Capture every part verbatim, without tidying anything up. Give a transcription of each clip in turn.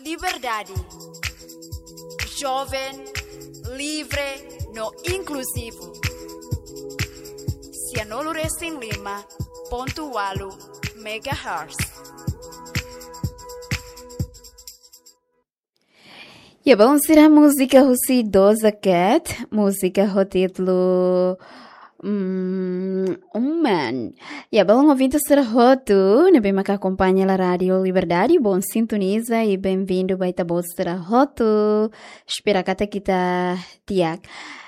Liberdade. Joven, livre no inkluzivu. Sianulu-resin-lima pontu ualu megahertz. Ya, balun sira, múzika husi Doja Cat, múzika ho títulu, mm, Woman. Ya, balun ouvinte sira hotu ne'ebé maka akompaña hela Rádiu Liberdade, bom sintoniza i bem-vindu ba ita-boot sira hotu. Espera katak ita di'ak.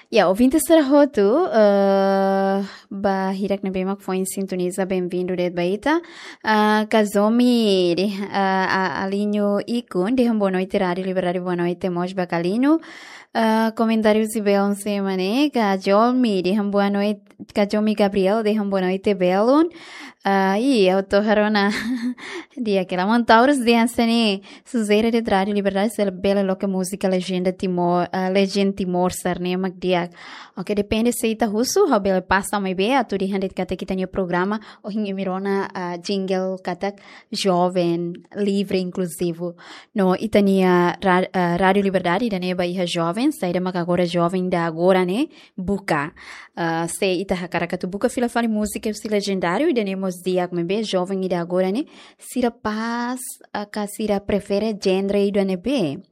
Ya, ouvinte sira hotu, eh, ba hirak ne'ebé mak foin sintoniza, bem-vindu de'it ba ita. Ah, Kazumi, de, ah, a-, Alinho Ikun, dehan boa noite, Rádiu Liberdade, boa noite, mós ba Kalino. Ah, komentáriu si belun sira ne'e, Kazumi, dehan boa noite, Kazumi Gabriel, dehan boa noite, belun. Ah, i, auto harona. Di'ak hela, Montaurus dehan hanesan ne'e, sujere de'it Rádiu Liberdade, se bele loke múzika lejenda Timor, ah, legend Timor sira-ne'e mak di'ak. Oke, depende se ita husu, ha'u bele pasa maibé, atu dehan de'it katak ita-nia programa, ohin imi rona, ah, jingle katak joven, livre, inkluzivu. No ita-nia ra-, ah, Rádiu Liberdade, ida-ne'e ba iha joven, saida maka agora joven ida agora ne'e, buka. Ah, se ita hakarak atu buka fila fali múzika husi lejendáriu, ida-ne'e mós di'ak maibé, joven ida agora ne'e, sira pas, ah, ka sira prefere genre ida ne'ebé.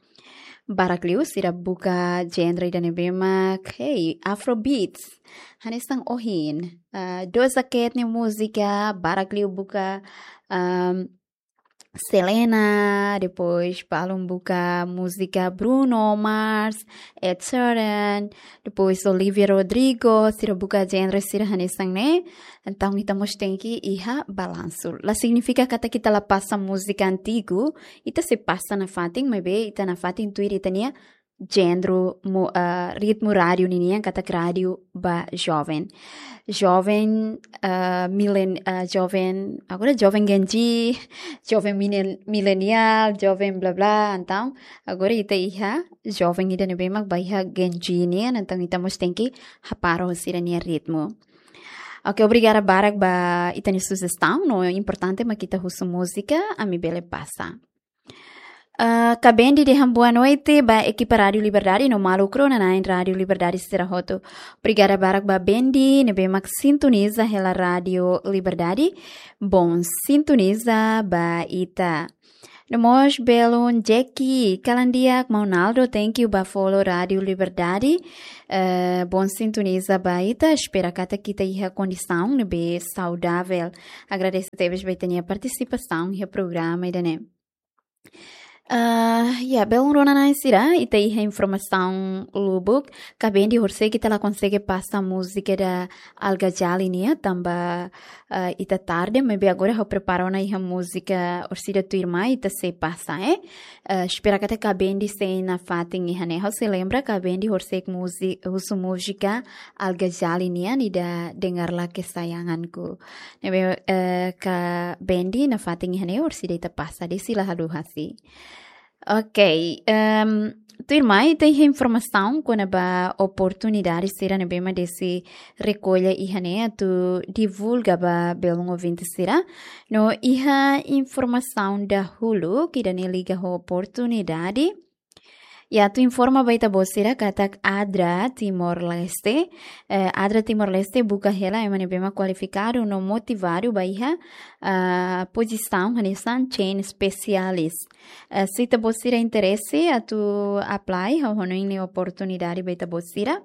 Barak liu sira buka genre ida ne'ebé mak, hey, Afrobeats. Hanesan ohin, ah, Doja Cat nia múzika, barak liu buka, ahm, Selena, depois balun buka múzika Bruno Mars, Ed Sheeran, depois Olivia Rodrigo, sira buka genre sira hanesan ne'e. Entaun ita mós tenke iha balansu. La signifika katak ita la pasa múzika antigu, ita sei pasa nafatin, maibé ita nafatin tuir ita-nia genre mu-, ah, ritmu rádiu ninian, katak rádiu ba joven. Joven, ah, milen-, ah, joven, agora joven Gen Z, joven milen-, milenial, joven bla bla, entaun agora ita iha joven ida ne'ebé mak ba iha Gen Z nian, entaun ita mós tenke hapara ho sira-nia ritmu. Oke, obrigada barak ba ita-nia sujestaun, no importante mak ita husu múzika, ami bele pasa. Ah, Kabendi dehan boa noite ba ekipa Rádiu Liberdade no maluk rona-na'in Rádiu Liberdade sira hotu. Obrigada barak ba Bendi, ne'ebé mak sintoniza hela Rádiu Liberdade. Bom sintoniza ba ita. No mós belun Jackie, kalan di'ak, maun Naldo, thank you ba follow Rádiu Liberdade. Eh, bom sintoniza ba ita, espera katak ita iha kondisaun ne'ebé saudavel. Agradese tebes ba ita-nia partisipasaun iha programa ida-ne'e. Ah, ya, belun rona-na'in sira, ita iha informasaun lubuk, Kabendi horisehik ita la konsege pasa múzika da Al Ghazali nian, tanba, ah, ita tarde, maibé agora ha'u prepara ona iha múzika orsida tuirmai, ita sei pasa, eh. Ah, espera katak Kabendi sei nafatin iha ne'e, ha'u sei lembra Kabendi horisehik múzi-, husu múzika Al Ghazali nian, ida Dengarlah Kesayanganku. Ne'ebé, eh, Kabendi nafatin iha ne'e orsida ita pasa, depois sei la haluha si. Ok, ehm, tuirmai ita iha informasaun kona-ba oportunidade sira ne'ebé mak Desi rekolla iha ne'e atu divulga ba belun ouvinte sira. No iha informasaun dahuluk ida-ne'e liga ho oportunidade. Ya, atu informa ba ita-boot sira katak ADRA Timor-Leste, eh, ADRA Timor-Leste buka hela ema ne'ebé mak kualifikadu no motivadu ba iha, ah, pozisaun hanesan chain specialist. Eh, se ita-boot sira interese atu apply, ha'u hanoin ne'e oportunidade ba ita-boot sira.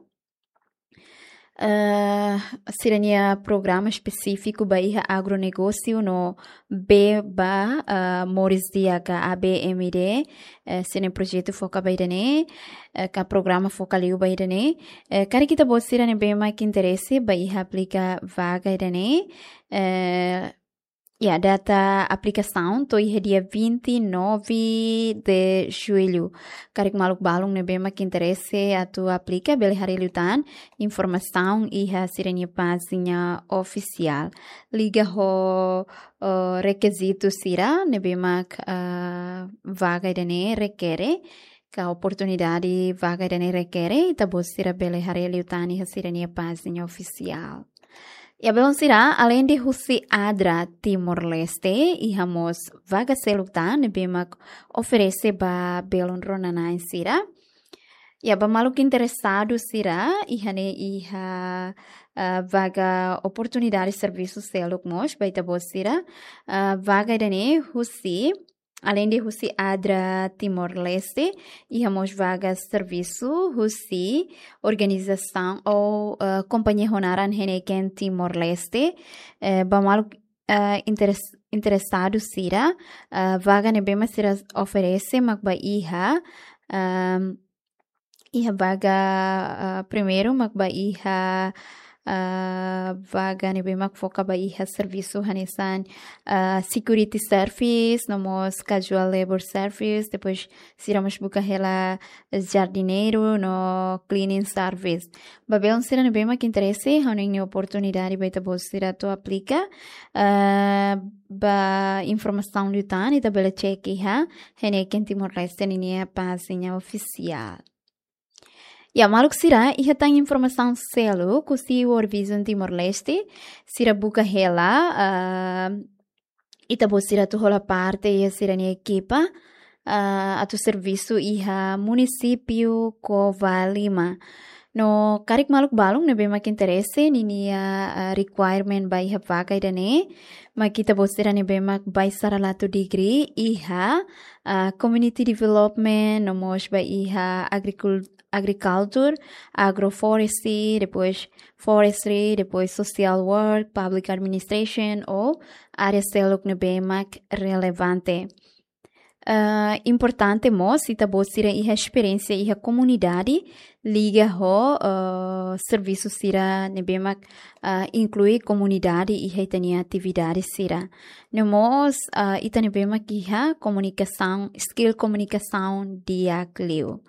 Eh, sira-nia programa espesífiku ba iha agronegósiu no bee ba, eh, moris di'ak, A B M D, eh, sira-nia projetu foka ba ida-ne'e, eh, ka programa foka liu ba ida-ne'e. Eh, karik ita-boot sira ne'ebé mak interese ba iha aplika vaga ida-ne'e, eh, ya, data aplikasaun to'o iha dia vinte e nove de julho. Karik maluk balun ne'ebé mak interese atu aplika, bele haree liután informasaun iha sira-nia pájina ofisiál. Liga ho, eh, rekizitu sira ne'ebé mak, eh, vaga ida-ne'e rekere, ka oportunidade vaga ida-ne'e rekere, ita-boot sira bele haree liután iha sira-nia pájina ofisiál. Ya, belun sira, alende husi ADRA Timor-Leste, iha mós vaga seluk tan ne'ebé mak oferese ba belun rona-na'in sira. Ya, ba maluk interesadu sira, iha ne'e iha, ah, vaga oportunidade servisu seluk mós ba ita-boot sira. Ah, vaga ida-ne'e husi, alende husi ADRA Timor-Leste, iha mós vaga servisu husi organizasaun ou, ah, kompañia ho naran Heineken Timor-Leste. Eh, ba maluk, ah, interes-, interesadu sira, ah, vaga ne'ebé mak sira oferese mak ba iha, ah, iha vaga, ah, primeiru mak ba iha, ah, vaga ne'ebé mak foka ba iha servisu hanesan, ah, security service, no mós casual labor service, depois sira mós buka hela jardineiru no cleaning service. Ba belun sira ne'ebé mak interese, ha'u-nia oportunidade ba ita-boot sira atu aplika. Ah, ba informasaun liután, ita bele cek iha Heineken Timor-Leste ninia pájina ofisiál. Ya, maluk sira, iha tan informasaun seluk husi World Vision Timor-Leste, sira buka hela, ah, ita-boot sira atu hola parte iha sira-nia ekipa, ah, atu servisu iha munisípiu Covalima. No karik maluk balun ne'ebé mak interese, ninia, ah, requirement ba iha vaga ida-ne'e, mak ita-boot sira ne'ebé mak bacharelatu degree iha, ah, community development, no mós ba iha agricul-, agriculture, agroforestry, depois forestry, depois social work, public administration, ou área seluk ne'ebé mak relevante. Ah, importante mós, ita-boot sira iha esperiénsia iha komunidade, liga ho, ah, servisu sira ne'ebé mak, ah, inklui komunidade iha ita-nia atividade sira. No mós, ah, ita ne'ebé mak iha komunikasaun, skill komunikasaun di'ak liu.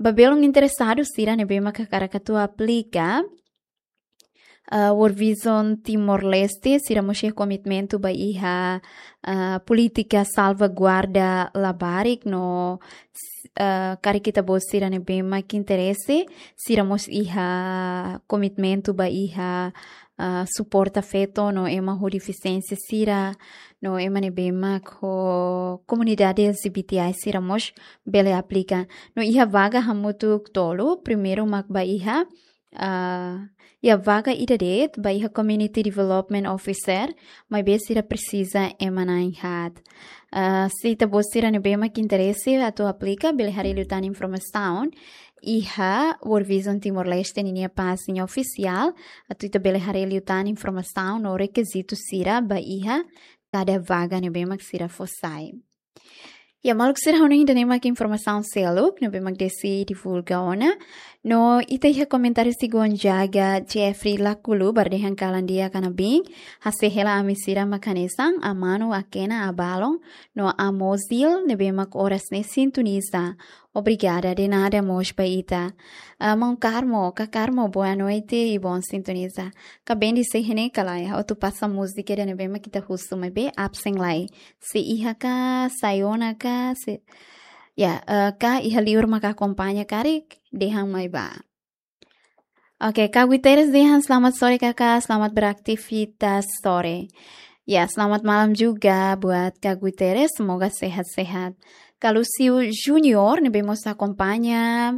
Ba belun interesadu sira ne'ebé mak hakarak atu aplika, ah, World Vision Timor-Leste, sira mós iha komitmentu ba iha, ah, polítika salvaguarda labarik no, ah, karik ita-boot sira ne'ebé mak interese, sira mós iha komitmentu ba iha, ah, suporta feto no ema ho defisiénsia sira, no ema ne'ebé mak ho komunidade L G B T I sira mós bele aplika. No iha vaga hamutuk tolu, primeiru mak ba iha, ah, ya, vaga ida de'it ba iha Community Development Officer, maibé sira presiza ema na'in haat. Ah, se ita-boot sira ne'ebé mak interese atu aplika, bele haree liután informasaun iha World Vision Timor-Leste ninia pájina ofisiál, atu ita bele haree liután informasaun no rekizitu sira ba iha kada vaga ne'ebé mak sira fó sai. Ya, maluk sira, ha'u-nia ida-ne'e mak informasaun seluk ne'ebé mak Desi divulga ona. No ita iha komentáriu Sigon Jaga Jeffrey Lakulu, bá dehan kalan di'ak, kanabin. Hase'e hela ami sira mak hanesan, amanu, akena, abalun, no amozil ne'ebé mak oras ne'e sintoniza. Obrigada, de nada mós ba ita. Ah, maun Carmo, ka Carmo, boa noite e bom sintoniza. Kaben de'it, se iha ne'e ka lae, atu pasa múzika ida ne'ebé mak ita husu maibé absen lai. Se iha ka, sai ona ka, se, ya, eh, ka iha liur maka akompaña karik, dehan mai bá. Oke, Kak Guterres dehan selamat sore kakak, selamat beraktivitas sore. Ya, selamat malam juga buat Kak Guterres, semoga sehat-sehat. Kak Lúcio Junior, ne'ebé mós akompaña.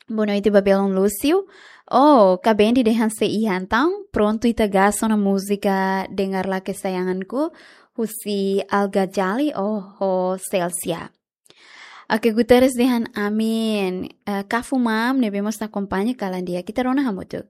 Boa noite ba belun Lúcio. Oh, Kak Bendi dehan se iha entaun, prontu ita gas ona múzika Dengarlah Kesayanganku, husi Al Ghazali, oh, ho Celsia. Oke, Guterres dehan amin. Eh, Kafu Mam, ne'ebé mós akompaña kalan di'ak, ita rona hamutuk.